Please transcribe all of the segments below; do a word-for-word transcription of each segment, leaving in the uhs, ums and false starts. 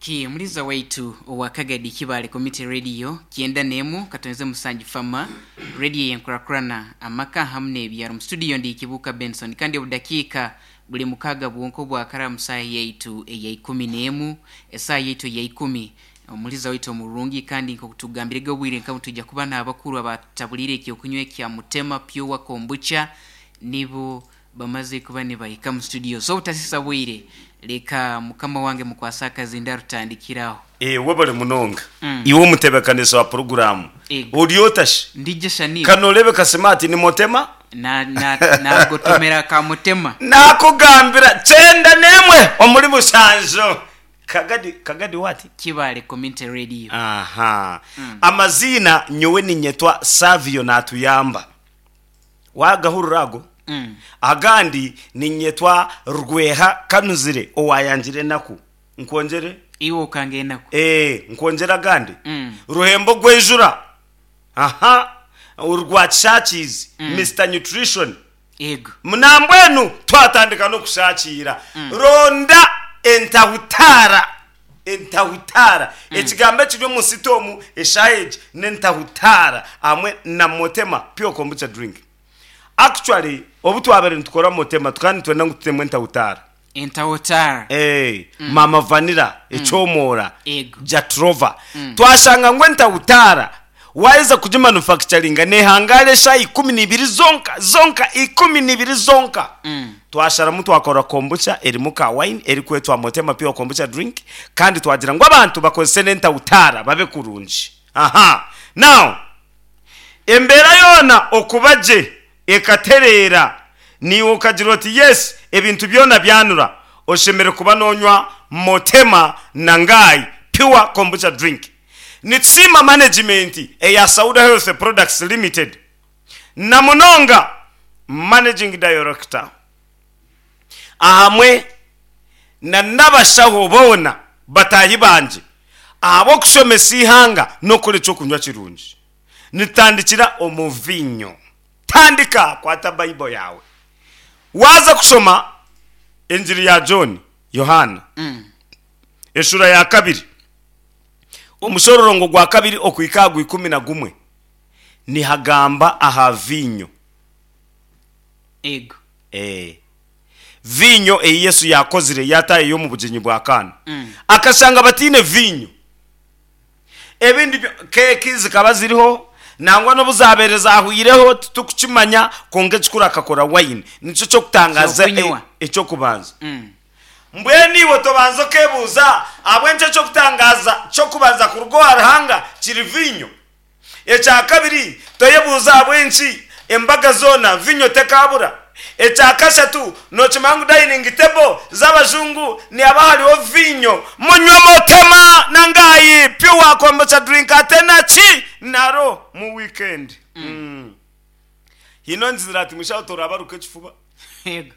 Ki muliza waitu owa Kagadi Kibale Community Radio kyenda nemu katonze musanju fama radio yenkurakurana amaka hamwe n'ebyaro. Mu studio ndi Kibuka Benson, kandi obudakiika buli mukaga bwonko bwakara musaha yaitu eya ikumi n'emu, esaha yaitu eya ikumi. Omuliza waitu omurungi, kandi nk'okutugambirege obwire nka tujja kuba n'abakuru abatabulire ekyokunywa ekya Mutema Pure Kombucha, nibo bamaze kuba nibahika mu studio. So obutasisa bwire, leka mukama wange mukwasa akazinda rutandikiraho. Eh, webale munonga. Mm. Iwe omutebekanisa wa puroguramu. Ego. Ori otashi? Ndije shani. Kano orebe kasimati ni Mutema? Na na nagotomera ka Mutema. Nakugambira kyenda nemwe omuri mushanjo. Kagadi, Kagadi wati? Kibale Community Radio. Aha. Mm. Amazina nyowe ninyetwa Savio natuyamba. Wagahurura ago? Mm. Agandi ninyetwa Rweha Kanuzire owayangire naku. Nkwongere? Iwe ukange enaku. Eh, nkwongera agandi. Mm. Ruhembo gwenjura. Aha. Urwa Churches, Mm. Mister Nutrition. Ego. Munambwenu twatandika no kushakira. Mm. Ronda entahutara. Entahutara. Mm. Ekigambo ekiri omu sitomu eshaheji n'entahutara hamwe na Mutema Pure Kombucha drink. Actually, obu twabere nitukora Mutema tukaba nitwenda ngu tutemu entahutara. Entahutara. Eh, Mm. Mama Vanilla, Mm. ekyomora, Ego. Jatrova. Mm. Twashanga ngu entahutara waiza kugimanufacturinga nehangara eshaha ikumi n'ibiri zonka, zonka ikumi n'ibiri zonka. Mm. Twasharamu twakora kombucha erimu ka wine erikwetwa Mutema Pure Kombucha drink, kandi twagira ngu abantu bakozese n'entahutara babe kurungi. Aha. Now, embeera yoona okuba gye ekatereera, niiwe okagira oti yes, ebintu byona byanura, oshemere kuba nonywa Mutema na Ngai Pure Kombucha drink. Nitusiima management eya Sauda Health Products Limited na munonga Managing Director ahamwe na n'abashaho boona bataahi bangye ahabw'okushomesa eihanga n'okukora ekyokunywa kirungi. Nitutandikira omu viinyo. Tandika kwata Bible yawe. Waaza kushoma engiri ya John, Yohaana, Mm. eshura ya kabiri, omushororongo gwa kabiri okuhika aha gwa ikumi na gumwe, nihagamba aha viinyo. Ego. Eh. Viinyo ei Yesu yakozire yataahiye omu bugyenyi bwa Kaana. Mm. Akashanga bataine viinyo. Ebindi byo, keeki zikaba ziriho, nangwa n'obu zabaire zahwireho titukukimanya, kwonka ekikuru akakora wine. Nikyo ky'okutangaza Ekyokunywa. e-, ekyokubanza. Mm. Mbwenu iwe tobanza okebuuza ahabw'enki ekyokutangaza ky'okubanza kuruga owa Ruhanga kiri viinyo. Ekya kabiri, toyebuuza ahabw'enki embaga zoona viinyo tekabura. Ekya kashatu, nookimanya ngu dining table z'abajungu nihaba hariho viinyo. Munywe Mutema na Ngai Pure Kombucha drink ate naki naro mu weekend. Mm. Hino nzira ati mushaho torabaruka ekifuba. Ego.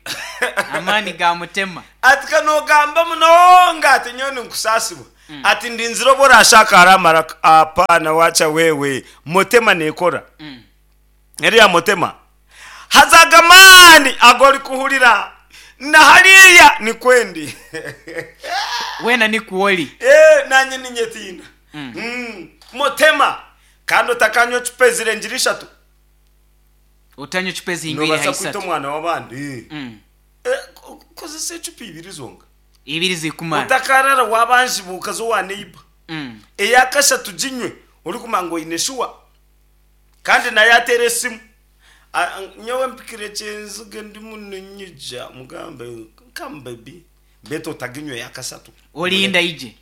Amaani ga Mutema. Ati kanogamba munonga ati nyowe ninkusaasibwa. Mm. Ati ndinzire obu orashaka hariho amaraka. Hapana wacha wewe. Mutema nekora. Mm. Eriya Mutema. Haza aga maani agu orikuhurira na hariya nikwendi. Weena nikuwori. Eh, nanye ninyetiina. Mm. Mm. Mutema. Kandi otakanywa ecupa ezirengire ishatu. Otanywa ecupa ezihingwire Nobaasa aha kwita ishatu. omwana w'abandi. Mm. Eh, ko-, kozesa ecupa ibiri zonka. Ibiri zikumara. Otakarara wabanjibuka zo wa neighbor. Mm. Eya kashatu ginywe orikumanya ngu oine shuwa. Kandi naye ateera esimu. A-, nyowe mpikire kyenziga ndimu ninyija mugambe come baby. Betu otaginywe eya kashatu. Olinda ije.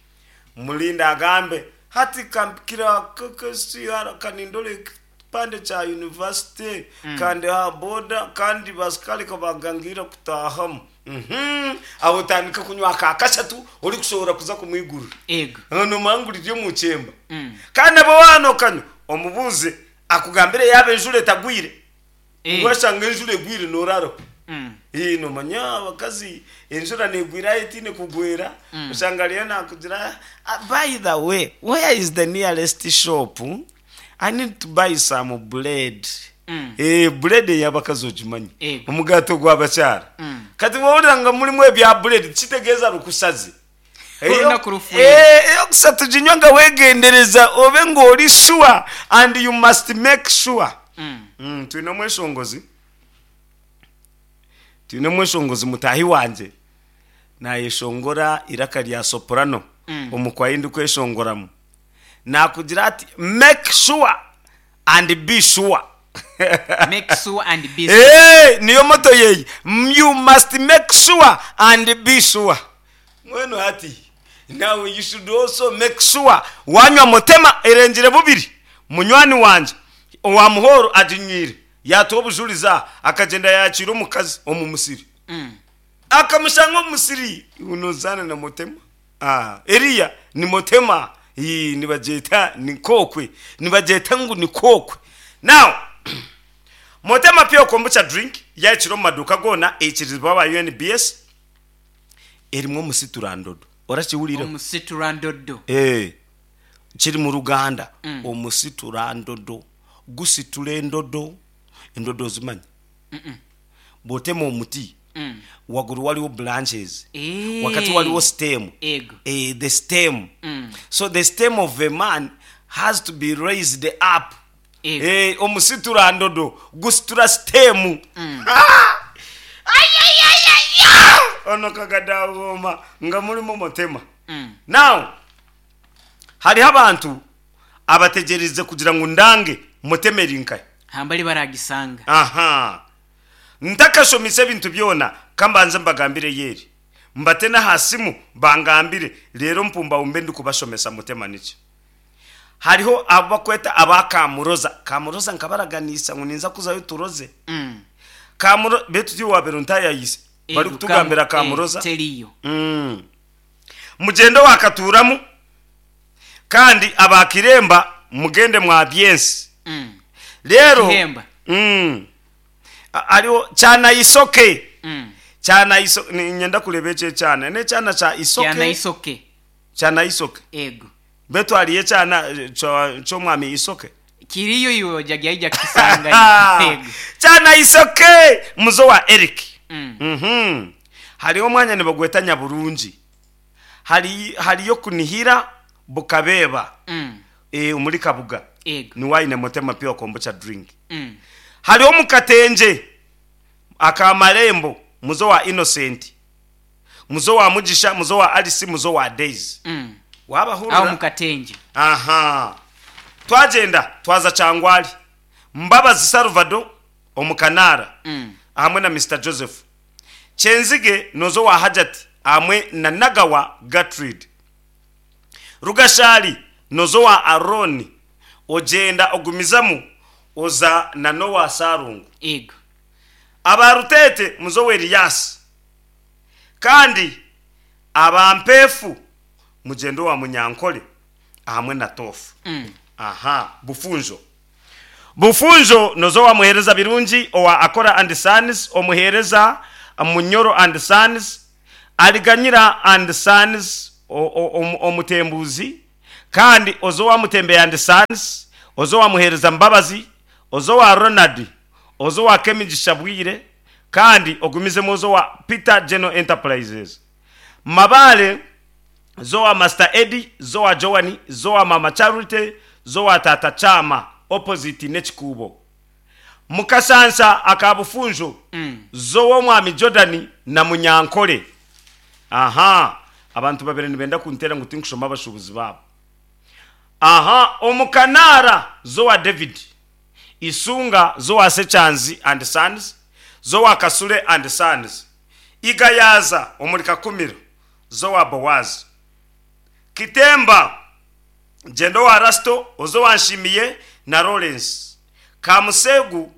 Mulinda agambe hati kampikira K K C R kanindole kipande cha university. Mm. Kandi ha boda kandi basikali kabagangira kutahamu. Mhm. Aho otandika kunywa aka kashatu orikushobora kuza kumwigurira. Ego. Nomanya ngu riri omu kyemba. Mm. Kandi abo waana okanywa omubuuze akugambire yaaba enjura etagwire. Eh. Washanga enjura egwire noraraho. Mm. Eh, nomanya abakazi enjura negwira aho etiine kugwera. Mm. Oshanga ariyo nakugira, ah, by the way, where is the nearest shop? I need to buy some bread. Mm. Eh, bread ey'abakazi ogimanyi. Ego. Omugato gw'abakyara. Mm. Kati wahurira nga murimu ebya bread kitegeeza rukusaze. Olunaku rufuire. Eh, eyokusatu ginywa nga wegendereza obe ng'ori sure and you must make sure. Mm. Mm, twine omweshongozi twine omweshongozi mutahi wanje nayeshongora iraka rya soprano. Mm. Omukwayi ndikweshongoramu nakugira ati make sure and be sure. Make sure and be sure. Eh, niyo moto yeyi, you must make sure and be sure. Mwenu hati now you should also make sure wanywa mutema erengire bubiri. Munywani wanje owa muhoro aginywire yatuwa obujuliza akagenda yakira omukazi omu musiri. Mm. Akamushanga omu musiri unozana na mutema. Ah, eriya ni mutema. Ii, nibagyeta ni kokwe, nibagyeta ngu ni kokwe. Now mutema pure kombucha drink yakira omu maduuka goona, eikirizibwa aba U N B S, erimu omusiturandodo. Orakiwulire? Omusiturandodo. Eh, kiri mu Luganda. Mm. Omusiturandodo gusitula endodo. Endodo ozimanyi? Bw'otema omuti, Mm. waggulu waliwo branches, Eh. wakati waliwo stem. Ego. Eh, the stem. Mm. So the stem of a man has to be raised up. Ego. Eh, omusiturandodo gusitula stem. Mm. Ono kagadawoma nga mulimu mutema. Mm. Now hariho abantu abategereze kugira ngu ndange mutemeri nkaye. Hambali baragisanga. Aha, ntakashomise ebintu byona, kambanze mbagambire yeri mbate n'ahasimu bangambire rero mpumba umbe ndikubashomesa mutema niki. Hariho abakweta abakamuroza kamuroza nkabaraganisa ngu ninza kuzayo turoze. Mm. Kamuro betu tiwabero ntayayise bari Ego, kutugambira. kamu- Kamuroza. eh, teriyo. Mm. Mugendo wakaturamu kandi abakiremba mugende mwa byensi. Mm. Rero Kiremba. mm. A- ariho cyana isoke. Mm. Cyana isoke, nyenda kureba ekyo ekyana nekyana kya isoke. Kyana isoke. Cyana isoke. Ego. Betu hariyo ekyana eh, kyo- ky'omwami isoke. Kiriyo iwe ojaga kisanga. Ego. Cyana isoke muzo wa Eric. Mm. Mhm. Hariho omwanya nibagweta Nyaburungi, hari hariyo kunihira bukabeba. Mm. E, omuri Kabuga. Ego. Niwaine mutema pure kombucha drink. Mm. Hariho mukatenje akamarembo muzo wa Innocent, muzo wa Mugisha, muzo wa Alice, muzo wa Daisy. Mm. Wabahurura. Aho mukatenje. Aha, twagenda twaza Kyangwali, Mbabazi Salvador omukanara. Mm. Hamwe na Mister Joseph Kyenzige nozo wa Hajati hamwe na Nagawa Gatrid. Rugashali nozo wa Aroni, ogenda ogumizamu oza na Nowa Sarungu. Ego. Abarutete muzo wa Eliyasi, kandi abampefu mugendo wa Munyankole hamwe na Tofu. Mm. Aha, Bufunjo, Bufunjo nozo wa muhereza Birungi owa Akora and Sons, omuhereza Munyoro and Sons, Aliganyira and Sons, o- o- omu- omutembuzi, kandi ozo wa Mutembe and Sons, ozo wa muhereza Mbabazi, ozo wa Ronald, ozo wa Kemigisha Bwire, kandi ogumizemu ozo wa Peter General Enterprises. Mabale zowa Master Eddie, zowa Joani, zowa Mama Charity, zowa Tata Chama opposite nekikubo. Mukasansa akabufunjo, Mm. zowa omwami Jordan na Munyankole. Aha, abantu babiri nibenda kuntera ngu tinkushoma abashubuzi babo. Aha, omukanara zowa David Isunga, zowa Sechanzi and Sons, zowa Kasule and Sons. Igayaza omuri Kakumiro zowa Bowazi. Kitemba jendo wa Rasto, ozo wanshimiye na Lawrence. Kamusegu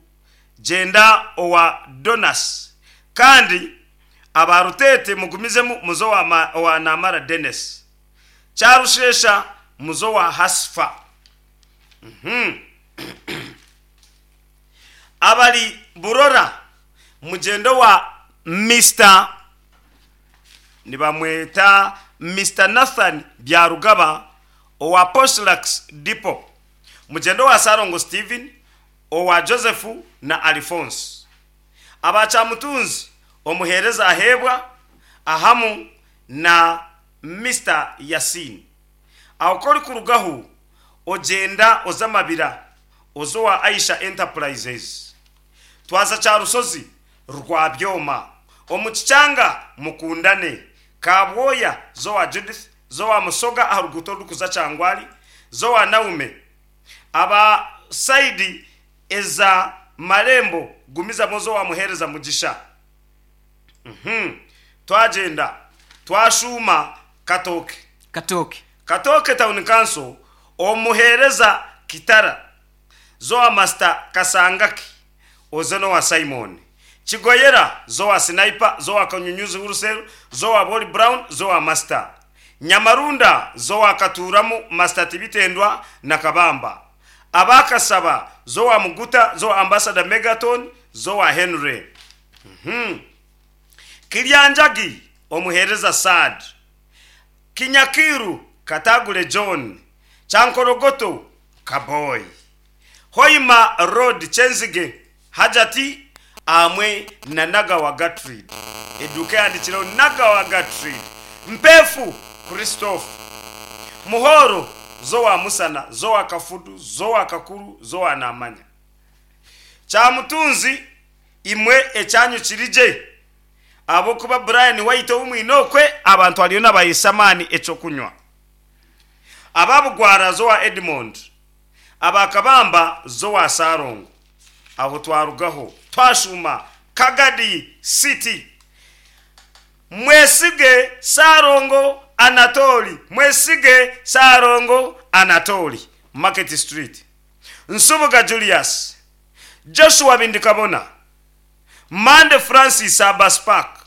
jenda owa Donas, kandi abarutete mugumizemu muzo wa, ma, wa Namara Dennis. Charushesha muzo wa Hasfa. Mhm. Abali Burora mugendo wa Mister nibamweta Mister Nathan Byarugaba owa Postlax Depot, mugendo wa Sarongo Steven, owa Joseph na Alphonse. Abachamutunzi omuhereza ahebwa ahamu na Mister Yasin. Aho kori kurugaho ogenda oza Mabira, oza owa Aisha Enterprises. Twaza Kyarusozi rwa Byoma, omu Kikyanga Mukundane, Kabwoya zowa Judith, zowa Musoga aha ruguuto orurikuza Kyangwali, zowa Naume. Aba saidi eza Marembo gumizamu zowa Muhereza Mugisha. Mhm. Twagenda twashuuma Katoke. Katoke. Katoke Town Council omuhereza Kitara, zowa Master Kasangaki, oze nowa Simon. Kigoyera zowa Sniper, zowa Kanyunyuzi Wholesale, zowa Boli Brown, zowa Master. Nyamarunda zowa Katuramu, Master Tibitendwa na Kabamba. Abakasaba zowa Muguta, zowa Ambassador Megaton, zowa Henry. Mhm. Kilyanjagi omuhereza Sad. Kinyakiru Katagule John. Chankorogoto Kaboy. Hoima Road Chenzige Hajati amwe na Nagawa Gatrid. Eduka yandikiraho Nagawa Gatrid. Mpefu Christophe. Muhoro zowa Musana, zowa Kafudu, zowa Kakuru, zowa Namanya. Kyamutunzi imwe ekyanyu kirije. Abokuba Brian White omwinokwe abantu aliyo nabayisamani ekyokunywa. Ababugwara zowa Edmond. Abakabamba zowa Sarongo. Aho twarugaho twashuma Kagadi City. Mwesige Sarongo Anatoli, Mwesige Sarongo Anatoli, Market Street. Nsubuga Julius, Joshua Bindikabona, Mande Francis Abbas Park,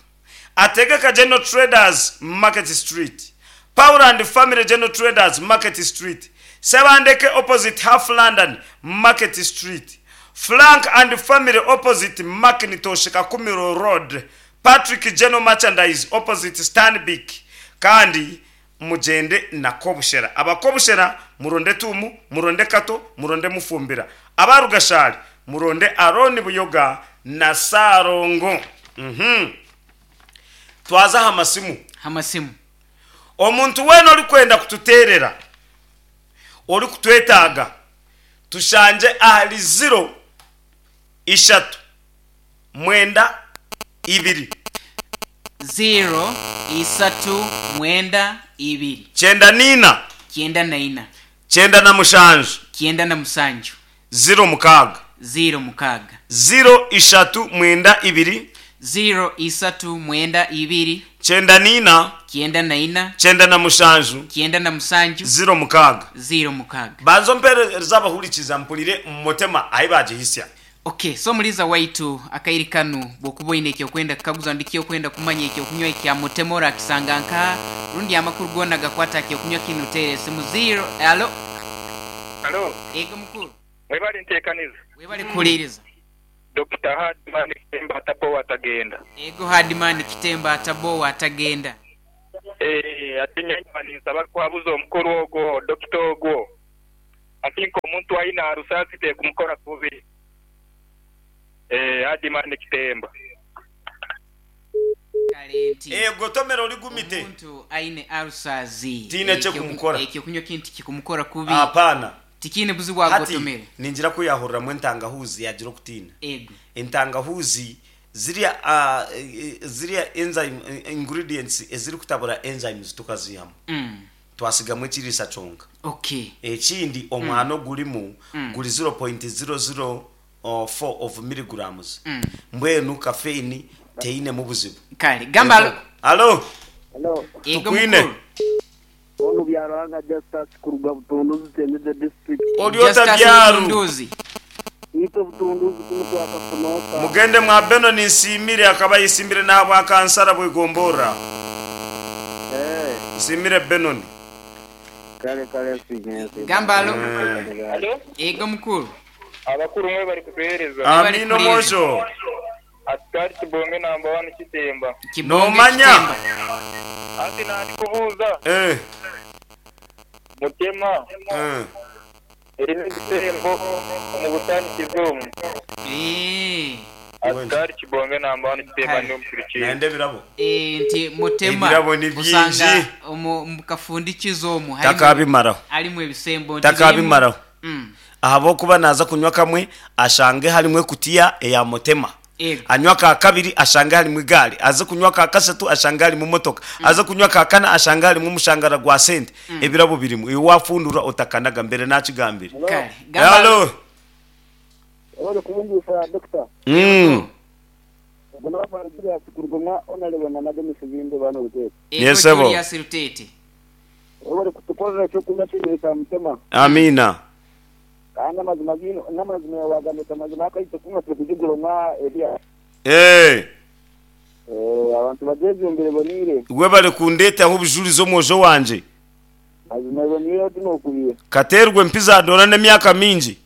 Ategeka General Traders Market Street, Power and Family General Traders Market Street, Sebandeke opposite Half London Market Street, Frank and Family opposite Macintosh Kakumiro Road, Patrick General Merchandise opposite Stanbic. Kandi mugende na Kobushera. Abakobushera muronde Tumu, muronde Kato, muronde Mufumbira. Abarugashari muronde Aroni Buyoga na Sarongo. Mhm. Twaza hamasimu. Hamasimu. Omuntu wena ori kwenda kututerera, ori kutwetaaga, tushanje ahali zero ishatu mwenda ibiri. Zero isatu mwenda ibiri. Kyenda nina. Kyenda na ina. Kyenda na mushanju. Kyenda na musanju. Zero mukaaga. Zero mukaaga. Zero ishatu mwenda ibiri. Zero isatu mwenda ibiri. Kyenda nina. Kyenda na ina. Kyenda na mushanju. Kyenda na musanju. Zero mukaaga. Zero mukaaga. Banzo mpereza abahurikiza mpurire mutema ahi bagihisya. Okay, so muliza waitu akairi kanu bwokuba oine ekyokwenda kukaguza ndi kyokwenda kumanya ekyokunywa ekya Mutemora akisanga nka rundi amakuru gona gakwata ekyokunywa kinu tere simu zero. Alo. Alo. Ego mukuru. Webale ntekaniza. Webale kuhuliriza. Doctor Hardman Kitemba atapo atagenda. Ego Hardman Kitemba atabo atagenda. Eh, atinya nisaba kwabuza omukuru ogwo Doctor ogwo. Atinko omuntu aina arusasi te kumukora kubi. Eh, Hardman Kitemba. Kalenti. Ego tomero ligumite. Omuntu aine arusazi. Tine che kumukora. Ekyo kunywa kintu kikumukora kubi. Hapana. Tikine buzi bwagotomere. Ninjira kuyahurira mu entangahuzi yagira okutina. Ego. Entangahuzi ziriya uh, ziriya enzyme ingredients eziri kutabura enzymes tukazihamu. Mm. Twasigamu ekiriisa kyonka. Okay. Ekindi omwana mm. ogurimu mm. guri zero point zero zero four of milligrams. Mm. Mbwenu caffeine teine mu buzibu. Kale gamba. Alo. Alo. Tukwine. Onu byaranga Justus kuruga Butunduzi Tendeze district. Oliota byaru. Ito Butunduzi kumutwaka kunoka. Mugende mwa Beno ninsimire akaba yisimbire n'abwa kansara bwegombora. Eh. Simire Benoni. Kale kale sigenze. Gamba alo. Alo. Ego mukuru. Abakuru mwe bari kutuhereza. Amino mojo. Askari Kibonge namba one Kitemba. Nomanya. Ati nandi kubuza. Eh. Mutema. Eh. Eri n'igitembo mu butani kizumu. Eh. Askari Kibonge namba wani kiteeba Kale. ndi omuturikire. Naende ebirabo. Eh, nti mutema Ebirabo ni bingi. usanga omu mu kafundikizo omu harimu- Takabimaraho. harimu ebisembo nti Takabimaraho. birimu- Mm. Ahabwokuba naza kunywa kamwe ashange harimu ekutiya eya mutema. Ego. Anywa ka kabiri ashange harimu igaari, aze kunywa ka kasatu ashange harimu motoka, aze kunywa ka kana ashange harimu omushangara gwa sente. Ebirabo birimu iwe wafundura otakanaga mbere nakigambire. Kale. Gamba- Halo. Wabale kubungisha dokita. Mm. Guna Julius Kurugumwa onalebona nagemisa ibintu bano Rutete. Ego Yes, sebo. Julius Rutete. Wabale kutukorera ekyokunywa kino kya mutema. Amina. Kandi amazima gino n'amazima wagamita amazima akaite kunywa turi kugiguromwa ebya. Eh, Eh, abantu bajejumbire bonire. webale kundetaho obujulizi omwojo wanje. Mazima bonire tinokubira. Katerwe empiza dora n'emyaka mingi.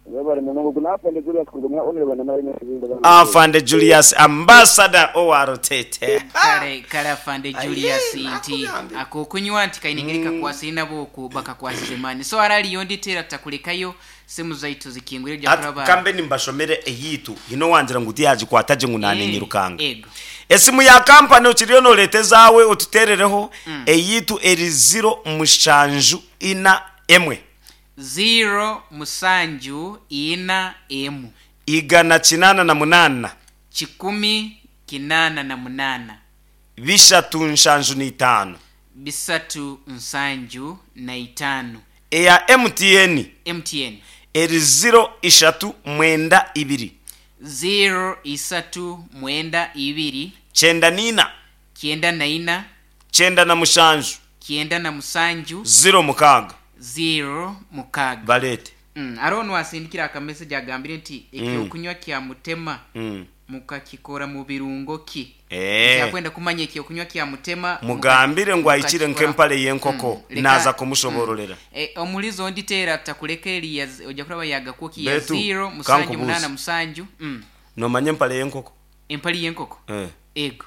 Wabale munongo gunapende Julius Kurugumwa onalebona nagemisa ibintu bano. Afande Julius ambassador owa Rutete. Kale kale afande Julius Aye, nti nakugambye. akokunywa nti kainengeri kakwasire nabo ku bakakwasize mani so araliyo nditera takulekayo simu zaitu zikingwire ojja Ati kuraba kambe nimbashomere eyitu hino wangira ngu tiyagikwata gye ngu Eh, nanenyirukanga. ego Esimu ya kampani okiriyo noreeta ezaawe otuterereho eyitu eri ziro mushanju ina emwe zero musanju ina emu igana kinana na munana kikumi kinana na munana bishatu nshanju n'itaano bisatu nsanju na itano eya M T N M T N eri ziro ishatu mwenda ibiri zero isatu mwenda ibiri kyenda n'ina kyenda na ina kyenda na mushanju kyenda na musanju ziro mukaaga zero mukaaga. Baleete. mm, ariho nwasindikira akameseji agambire nti ekyokunywa kya mutema Mm. mukakikora mu birungo ki? Eh. Yakwenda kumanya ekyokunywa kya mutema mugambire ngu ahikire mukakikora- nk'empale y'enkoko Mm, leka- naza kumushobororera. Eh, omulizo nditeera takuleka eriya ojja kuraba yagakuki ya Betu, zero musanju kankubuuze. munana musanju mm. Nomanya empale y'enkoko? Empali y'enkoko. Eh. Ego.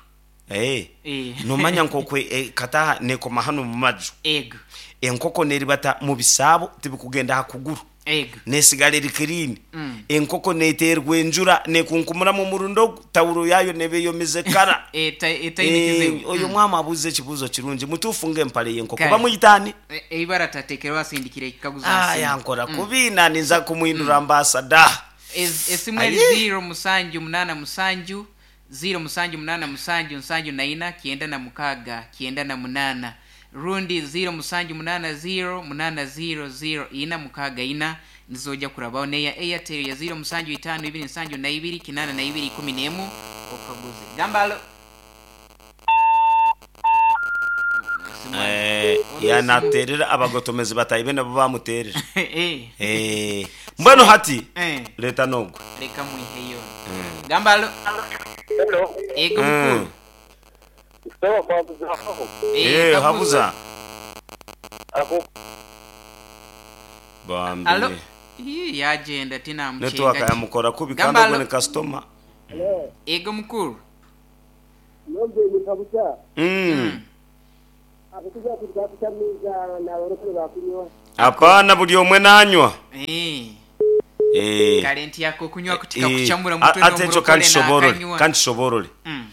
Eh. Eh. Nomanya nkokwe eh, kataha nekoma hano mu maju. Ego. Enkoko neribata mu bisaabo tibikugenda ha kuguru. Ego. Nesigala eri kirini. Mm. Enkoko neterwa enjura nekunkumuramu omurundo tawuro yayo nebeyomize kara. Eta- etaine Eh, oyo mwama abuuza ekibuuzo kirungi mutuufu ng'empale y'enkoko Kale. bamuyitaani? Eibara tatekerwa asindikira ekikaguzo. Yankora kubi naninza kumuhindura ambasada. Esimu eri Aye. zero musanju munana musanju zero musanju munana musanju nsanju na ina kyenda na mukaaga kyenda na munana rundi zero musanju munana zero munana zero zero ina mukaaga ina nizojja kurabaho neya Airtel ya zero musanju itano ibiri nsanju na ibiri kinana na ibiri ikumi n'emu okaguze gambalo. Eh, yanaterera abagotomezi batayi nabo bamuterera. Eh, Eh, mbwenu hati eh, leta nogwe. Leka mwiheyo gambalo. Hello. Ego mukuru. Sawa kwabuza aho. Eh, Eh, kabuza. habuza. Ako Bambi. Alo. Ii, yagenda Network tinamuchenga. yamukora kubi kandi Gambalo. ogwo ni customer. Ego mukuru. Nobye kabucha. Mm. Abatuja tukakuchamiza na barokore bakunywa. Hapana, buli omwe nanywa. Eh, Eh. kale nti yako kunywa kutika Eh, kuchamura a- mutwe ate ekyo n'omurokore kankishoborore n'akanywa. kankishoborore. Mm,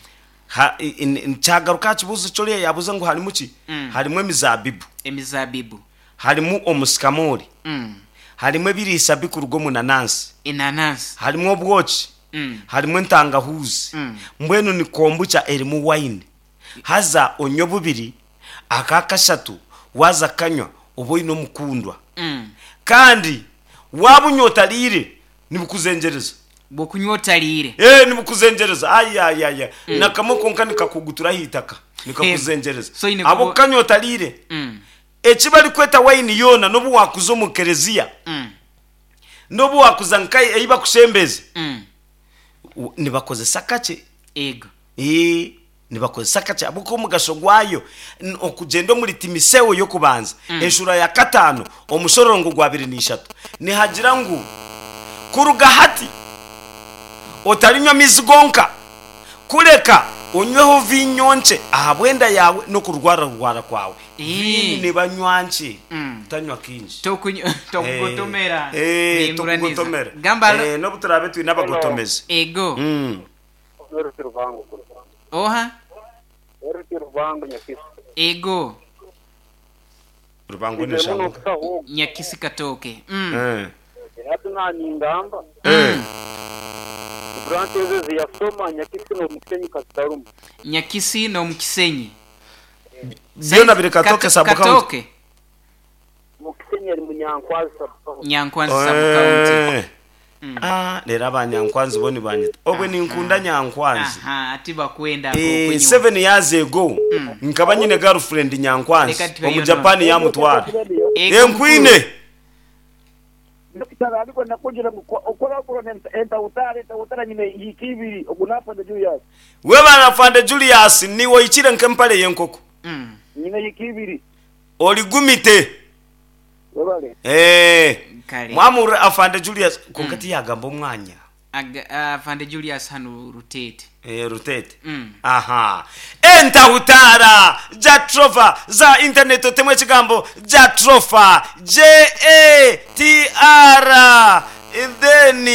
Ha- i- i- nkyagaruka aha kibuuzo kyoriya yabuuza ngu harimu ki? Mm. Harimu emizabibu, emizabibu, harimu omusikamori, Mm, harimu ebiriisa bikuruga omu nanansi, enanansi, harimu obwoki, Mm, harimu entangahuzi. Mm. Mbwenu ni kombucha erimu wine haza onywe bubiri aka kashatu waza kanywa oba oine omukundwa. Mm. Kandi waba unywa otariire nibukuzengereza. Bw'okunywa otaliire. Eh, nibukuzengereza ayayaya nakamwe konka nikakugutura ahitaka nikakuzengereza. So ine abo kubo- kanywa otariire. Mm, Eki barikweta wine yoona n'obu wakuza omu kereziya, mm, n'obu wakuza nkai ei bakushembeze, mm. u- nibakozesa kakye. Ego. Eh, nibakozesa kakye ahabw'okuba omugasho gwayo n- okugenda omuri Timoteyo y'okubanza enshura ya kataano omushororongo gwa abiri n'ishatu nihagira ngu kuruga hati otarinywa amaizi gonka. Kureka onyweho viinyo nkye ahabw'enda yaawe n'okurwararwara kwawe. Eh. Viinyo nibanywa nkye, Mm. tanywa kingi. Tokuny- tokugotomera. Eh, Kuhinguraniza. tokugotomera. Gamba alo. Eh, n'obu turaabe twine abagotomezi. Ego. Mm. Eruti Rubango. Oha. Eruti Rubango Nyakisi. Ego. Rubango Muno neshanguka. kusaho. Nyakisi Katooke. Mm. Eh. Hati naningamba. Eh. Branch ezo ziyasoma Nyakisi n'omusenyi kasitarumu. Nyakisi n'omukisenyi. Byona biri Katooke Kato- sub county. Katooke. Mukisenyi ari Munyankwazi sub county. Nyankwanzi sub county. Eh. Ah, rero abanyankwanzi bo nibanyeta. Obwe ninkunda Nyankwanzi. Aha, ati bakwenda Eh, okunywa. seven years ago nkaba nyine girlfriend Nyankwanzi Reka tubeyo omu Japan yamutwara. Ego Enkwine. Ndokitara ariko nakugira ngu okora okora entautara entautara nyine yikibiri ogunafanda Julius We banafande Julius niwe ikire nk'empale y'enkoko. Mm. nyine yikibiri Oligumite. webale Eh. Kale. Mwamura afande Julius konka tiyagamba omwanya. Aga- Afande Julius hano Rutete. Eh, Rutete. Mm. Aha. Entahutara Jatrofa za internet otemwe ekigambo Jatrofa J A T R then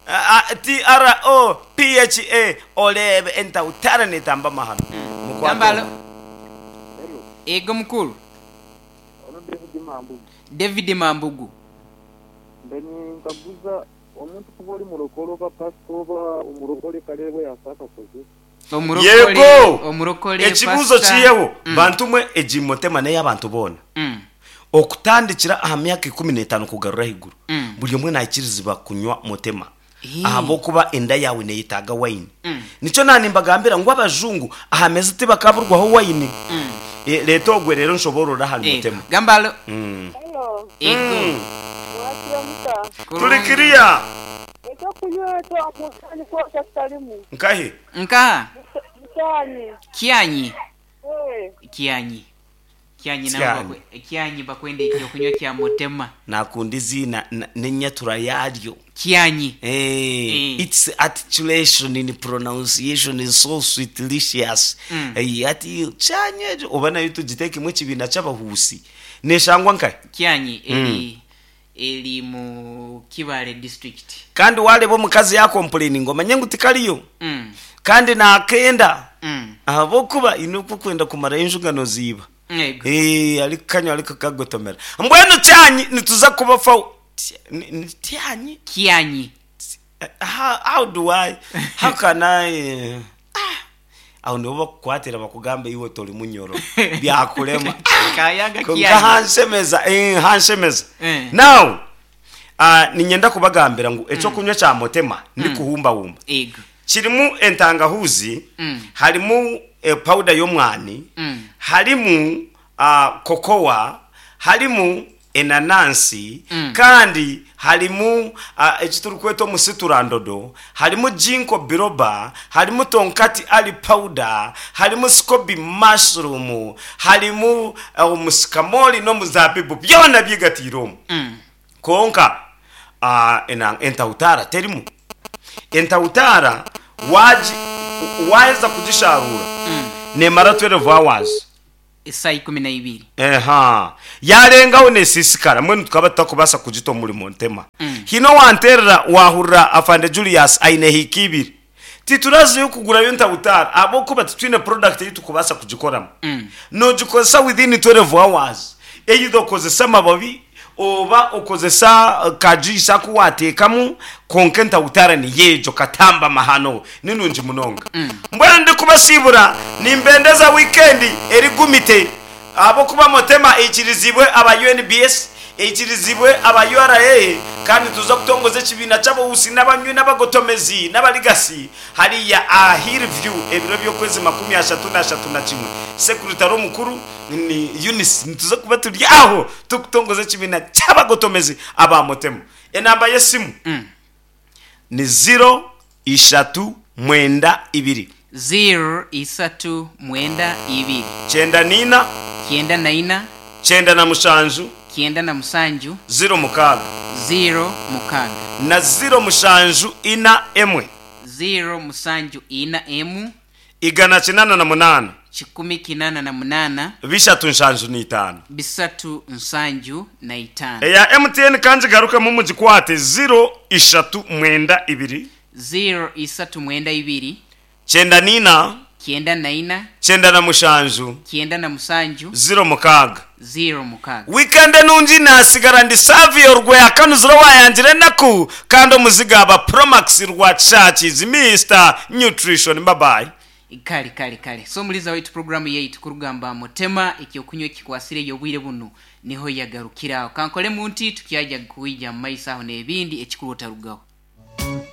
uh, T R O P H A olebe entahutara netamba mahano. Mukwate. Gamba alo. Ego mukuru. ono David Mambugu David Mambugu. mbeni nkaguza omuntu kuba oli murokole oba pastor oba omurokole kale yasaka koze Omurokole. Yego. Omurokole. Ekibuzo pastor. kiyeho Mm. bantu mwe egimotema n'ey'abantu boona. Mm. Okutandikira aha myaka ikumi n'etaano kugarura ahaiguru Mm. buri omwe naikirizibwa kunywa mutema Eh. ahabwokuba enda yawe neyetaaga wayini Mm. nikyo nanimbagambira ngu abajungu aha meza tibakaburwaho wayini Mm. Eh, leeta ogwe rero nshoborora ahari Ego. mutema Gamba alo. Mm. Hello, Ego. mwakira muta. turi kiriya Ekyokunywa twakusani kwota kitalimu. nkahi Nkaha. Mutani. Kyanyi. Eh, Kyanyi. Kyanyi nabo Kyanyi. bakwe- Kyanyi bakwenda ekyokunywa kya mutema. nakunda iziina na- n'enyatura yaryo Kyanyi. Eh, Eh. its articulation in pronunciation is so sweetlicious Mm. Eh, ati kyanye oba nayo tugitekemu ekibiina ky'abahuusi neshangwa nkahi Kyanyi eri eri mu Kibale district. kandi wareba omukazi yakomplaininga omanye ngu tikariyo Mm. kandi nakenda Mm. ahabwokuba ine okukwenda kumarayo enjugano ziiba Ego. Eh, ariko kanywa ariko kagotomera mbwenu kyanyi nituza kubafa Ni- ni tyanyi Kyanyi. how, how do I how can I eh, ah, aho nibo bakukwatira bakugamba iwe tori munyoro byakurema Kayaga konka kyanyi. hanshemeza eh, hanshemeza Eh. now uh, ninyenda kubagambira ngu ekyokunywa kya mutema ndikuhumbahumba Ego. kirimu entangahuzi Mm. harimu eh, powder y'omwani Mm. harimu uh, kokowa harimu enanansi Mm. kandi harimu uh, ekiturikweta omusiturandodo harimu jinko biroba harimu tonkati ali powder harimu scobi mushroom harimu uh, omusikamoli n'omuzabibu byona byigatiire omu Mm. konka uh, ena- entahutara terimu entahutara waji waheza kugisharura Mm. nemara twelve hours Esaa ikumi na ibiri. eha yarengaho nesisikara mbwenu tukaba tutakubasa kugita omurimo ntema Mm. hino wanterera wahurira afande Julius aine hiki ibiri tituraziyo kugurayo entahutara ahabwokuba titwine product eyi tukubasa kugikoramu Mm. nogikozesa within twelve hours either okozesa amababi oba okozesa uh, kajuice aku wateekamu konka entahutara niyejo katamba mahano ninungi munonga mbwenu ndikubasiibura nimbendeza weekend erigumite ahabwokuba mutema eikirizibwe aba U N B S eikirizibwe aba U R A kandi tuza kutongoza ekibiina ky'abahusi n'abanywi n'abagotomezi n'abaligasi hariya a Hillview ebiro by'okwezi makumi ashatu n'ashatu na kimwe sekuritari omukuru ni Eunice nituza kuba turi aho tukutongoza ekibiina ky'abagotomezi aba mutema enamba y'esimu Mm. ni zero ishatu mwenda ibiri Zero isatu mwenda ibiri. kyenda nina Kyenda na ina. kyenda na mushanju Kyenda na musanju. zero mukaaga Zero mukaaga. na zero mushanju ina emwe. Zero musanju ina emu Igana kinana na munana. Kikumi kinana na munana. Bishatu nshanju n'itaano. Bisatu nsanju na itaano. Eya M T N kangigarukemu mugikwate: zero ishatu mwenda ibiri. Zero isatu mwenda ibiri. Kyenda nina. Kyenda na ina. Kyenda na mushanju. Kyenda na musanju. Zero mukaaga. Zero mukaaga. Weekend nungi. Nasigara ndi Savio Rweyakanuziro wayangire enaku kandi omuziga aba Promax rwa Churches, Mister Nutrition. Babayi. Kale kale kale. So muliza waitu, programu yaitu kurugamba Mutema ekyokunywa ekikwasire ey'obwire buno niho yagarukiraho. Kankole munti tukyaja kuija mu maiso aho n'ebindi ekikuru otarugaho.